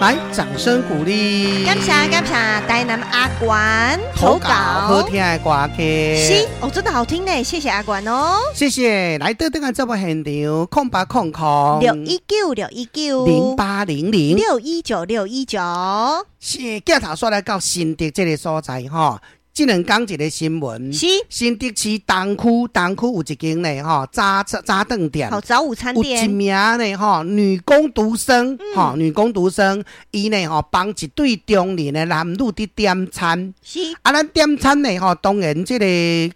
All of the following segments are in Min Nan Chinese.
來，掌聲鼓勵。感謝感謝台南阿關投稿好聽的歌曲。是哦，真的好聽呢，謝謝阿關哦。謝謝。來到這個節目現場，0800 619 619 0800 619 619。是鏡頭煞來到新竹這個所在吼。這兩工一個新聞，新竹市東區，東區有一間呢吼，早早頓店，好早午餐店，有一名呢吼女工讀生，吼女工讀生，伊呢吼幫一對中年的男女佇點餐，啊，咱點餐呢吼，當然這個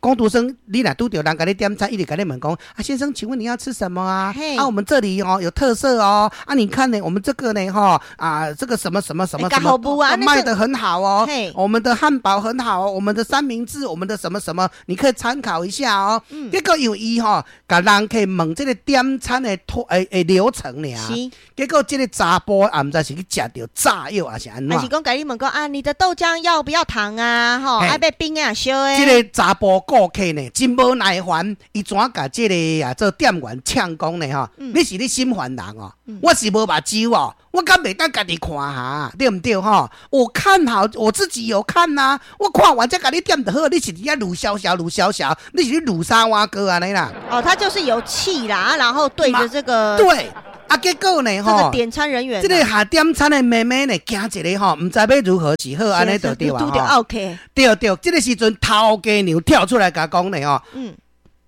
工讀生，你若拄著人共你點餐，伊就共你問講，啊先生，請問你要吃什麼啊？啊，我們這裡哦有特色哦，啊，你看呢，我們這個呢吼啊，這個什麼什麼什麼什麼賣得很好哦，我們的漢堡很好哦，我們的三明治，我們的什麼什麼，你可以參考一下哦。結果因為伊吼，共人客問這個點餐的拖誒誒流程爾，結果這個查埔也毋知是去食著炸藥還是按怎？還是講共你問講啊，你的豆漿要不要糖啊？吼，愛欲冰啊燒的。這個查埔顧客呢，真無耐煩，伊怎共這個啊做店員嗆講呢？吼，你是咧心煩人哦，我是無目睭哦，我敢袂當家己看哈，對毋對吼？我看好，我自己有看吶，我看完才共你點就好。你是佇遐魯蕭蕭魯蕭蕭，你是咧魯啥碗糕按呢啦？哦，他就是有氣啦，然後對著這個對，啊，結果呢？這個點餐人員，這個下點餐的妹妹呢，驚一个吼，毋知欲如何是好，按呢就對啊。 OK，對對，這個時陣頭家娘跳出來共講呢吼，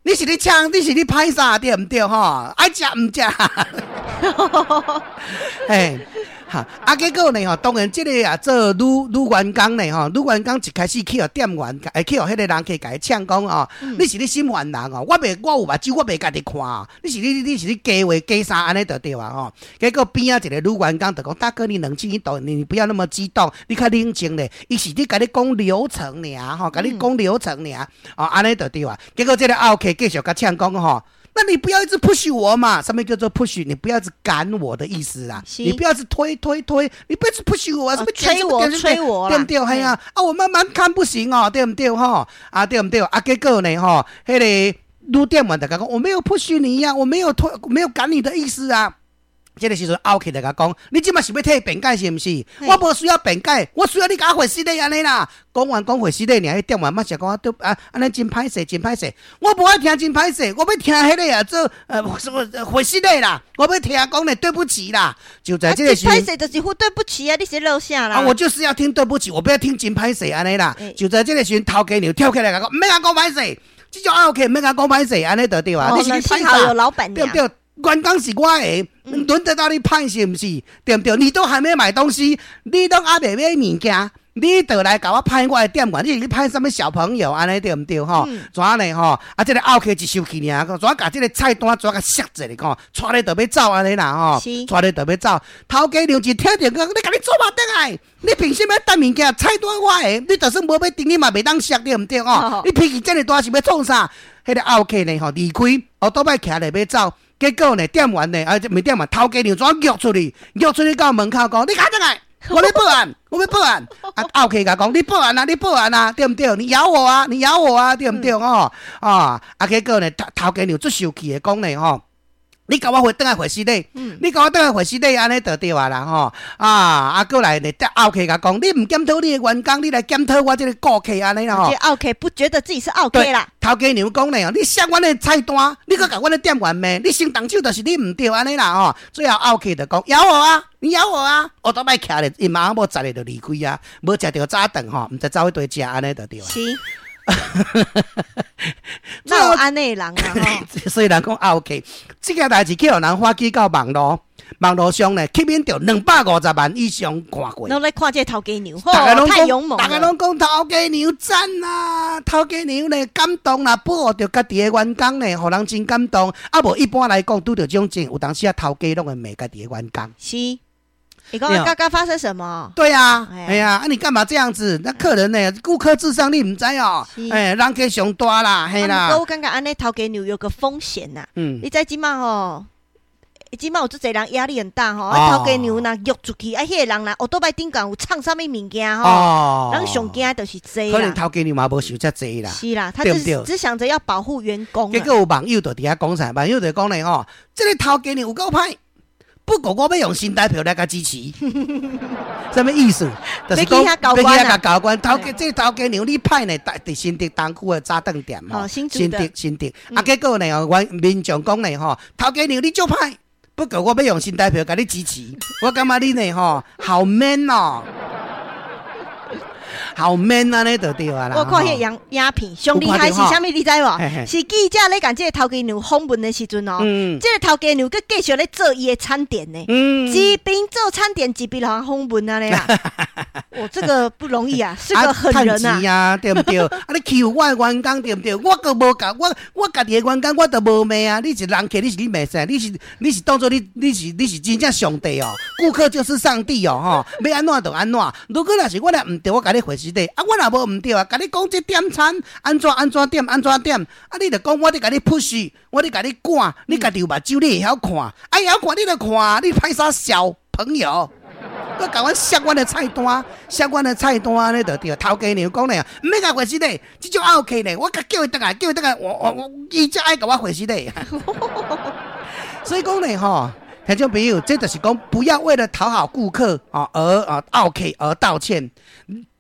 你是咧嗆，你是咧歹啥對毋對吼？愛食毋食？嘿。哈，啊，結果呢吼，當然這個啊做女女員工呢吼，女員工一開始去予店員，會去予彼個人客共伊嗆講吼，你是咧心煩人哦，我袂我有目睭，我袂家己看，你是咧假話假啥按呢就對啊吼。結果邊仔一個女員工就講，大哥你冷靜一點，你不要那麼激動，你較冷靜咧。伊是咧共你講流程爾吼，共你講流程爾，哦，按呢就對啊。結果這個奧客繼續共嗆講吼。那你不要一直 push 我嘛？啥物叫做 push？你不要一直趕我的意思啦，你不要一直推推推，你不要一直 push 我，什麼催我催我，對毋對？係啊，啊我慢慢看不行哦，對毋對？吼，啊對毋對？啊結果呢？吼，彼個女店員就共講，我沒有 push 你呀，我沒有推，沒有趕你的意思啊。這個時陣奧客就共講，你這馬是欲替辯解是毋是？我無需要辯解，我需要你共我回失禮按呢啦。講完講回失禮，爾彼店員嘛是講對啊，按呢真歹勢，真歹勢。我無愛聽真歹勢，我欲聽彼個啊做什麼回失禮啦，我欲聽講咧對不起啦。就在這個時，歹勢就是呼對不起啊，你是落啥啦？啊，我就是要聽對不起，我不要聽真歹勢按呢啦。就在這個時陣，頭家娘跳起來共講，毋免共講歹勢，這種奧客毋免共講歹勢，按呢就對啊。你是歹勢，老闆對毋對？員工是我的，輪得到你歹勢毋是？對毋對？你都還沒買東西，你都猶未買物件，你就來共我歹我的店員，你是咧歹啥物小朋友按呢對毋對？吼，怎呢？吼，啊，這個奧客一生氣爾，怎共這個菜單怎共摔一下，𤆬咧就欲走按呢啦吼，𤆬咧就欲走。頭家娘一聽著講，你共你做嘛轉來？你憑啥物擔物件？菜單我的，你就算無欲訂，你嘛袂當摔對毋對？吼，你脾氣遮爾大是欲創啥？彼個奧客呢？吼，離開，後倒擺徛咧欲走。結果呢，店員呢，啊，毋是店員，頭家娘怎約出去？約出去到門口講，你共轉來，我欲報案，我欲報案。啊，奧客共講，你報案啊，你報案啊，對毋對？你咬我啊，你咬我啊，對毋對？吼，啊，啊，結果呢，頭頭家娘足生氣的講呢，吼。你共我回轉來回失禮，你共我轉來回失禮，按呢就對啊啦吼！啊啊，過來呢，奧客共講，你毋檢討你的員工，你來檢討我這個顧客按呢啦吼。這奧客不覺得自己是奧客啦。頭家娘講呢，你摔阮的菜單，你閣共阮的店員罵，你先動手就是你毋對按呢啦吼。最後奧客就講咬我啊，你咬我啊！後倒擺徛咧，𪜶媽某十个就離開啊，無食著早頓吼，毋知走去佗食按呢就對啊。是。哪有按呢人啊？所以人講奧客，這件代誌去予人發起到網路，網路上呢吸引著250萬以上看過。攏咧看這個頭家娘，大家攏太勇猛。大家攏講頭家娘讚啊，頭家娘呢感動啦，保護著家己的員工呢，予人真感動。啊無一般來講，拄著這種情，有當時啊頭家攏會罵家己的員工。是。你講剛剛發生什麼？對啊，哎呀，啊你幹嘛這樣子？那客人呢？顧客至上，你毋知哦。哎，人客上大啦，嘿啦。我感覺按呢頭家娘有個風險吶。你知這馬吼，這馬有足濟人壓力很大吼。啊，頭家娘若約出去，啊，彼個人若後倒擺頂懸有創啥物物件吼，人上驚就是這。可能頭家娘嘛無想遮濟啦。是啦，他只只想著要保護員工。結果有網友就佇遐講啥？網友就講咧吼，這個頭家娘有夠歹。不過我欲用新台票來共支持，啥物意思？就是講欲去遐交關啊，交關頭家這頭家娘你歹呢？佇新竹東區的早頓店吼，新竹新竹，啊結果呢？阮民眾講呢吼，頭家娘你足歹，不過我欲用新台票共你支持，我感覺你呢吼好 man 哦。好 man 按呢就對啊啦！我看彼个影影片，上厲害是啥物？你知無？是記者咧共這个頭家娘訪問的時陣哦，這个頭家娘閣繼續咧做伊的餐點呢，一邊做餐點一邊予人訪問按呢啦。哦，這個不容易啊，是個狠人啊！啊，對毋對？啊，你欺負我的員工對毋對？我閣無共我我家己的員工我都無罵啊！你是人客，你是咧罵啥？你是你是當做你你是你是真正上帝哦？顧客就是上帝哦！吼，欲按怎就按怎。如果若是我若毋對，我共你回事的。啊，我若無毋對啊，共你講這點餐按怎按怎點按怎點，啊，你就講我咧共你 push，我咧共你趕，你家己有目睭，你會曉看，啊，會曉看你就看，你歹啥小朋友？閣共阮摔阮的菜單，摔阮的菜單按呢就對。頭家娘講咧，毋免共回事咧，這種奧客咧，我共叫伊轉來，叫伊轉來，我我我，伊才愛共我回事咧。所以講咧吼，聽眾朋友，這就是講不要為了討好顧客啊而啊奧客而道歉。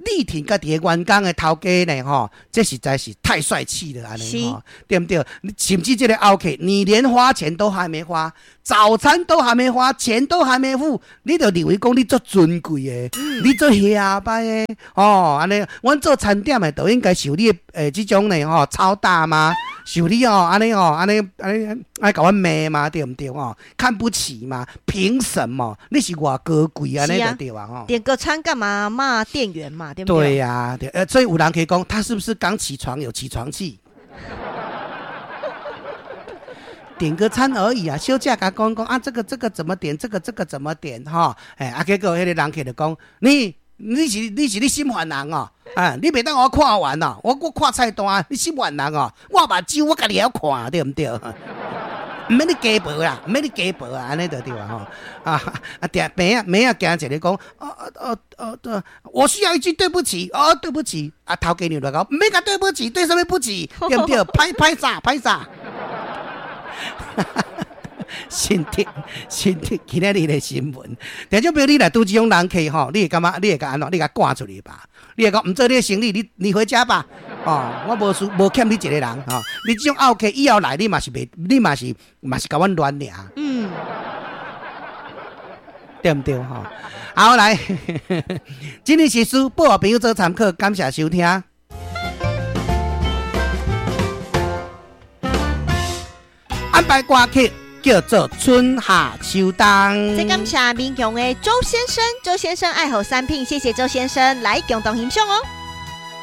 力挺家己的員工的頭家呢吼，這實在是太帥氣了按呢吼，對毋對？甚至這个奧客，你連花錢都還沒花，早餐都還沒花，錢都還沒付，你就認為講你足尊貴的，你足遐擺的哦，按呢，阮做餐點的就應該受你的這種呢吼操打嗎？受你哦，按呢哦，按呢按呢愛共阮罵嗎？對毋對吼？看不起嗎？憑什麼？你是偌高貴按呢就對啊吼。點個餐幹嘛罵店員嘛？對不對？對呀，對，所以有人可以講，他是不是剛起床有起床氣？點個餐而已啊，小姐共講講啊，這個這個怎麼點？這個這個怎麼點？哈，欸，啊，結果彼個人客就講，你你是你是咧心煩人哦，啊，你袂當予我看完哦，我閣看菜單，你心煩人哦，我目睭我家己會曉看，對毋對？毋免你加薄啦，毋免你加薄啊，按呢就對啊吼。啊啊，定邊仔邊仔行一个講，哦哦哦哦，我需要一句對不起，哦對不起，啊頭家娘來講，毋免共對不起，對啥物不起，對毋對？歹歹勢歹勢。新竹新竹今仔日的新聞，聽眾朋友，你若拄這種人客吼，你會感覺你會共按怎？你共趕出去吧？你會講毋做你的生意，你你回家吧。哦，我無輸無欠你一个人吼。你這種奧客以後來，你嘛是袂，你嘛是嘛是共阮亂爾。對毋對吼？好來，今日時事報予朋友做參考，感謝收聽。安排歌曲叫做《春夏秋冬》。再感謝民雄的周先生，周先生愛好三品，謝謝周先生來共同欣賞哦。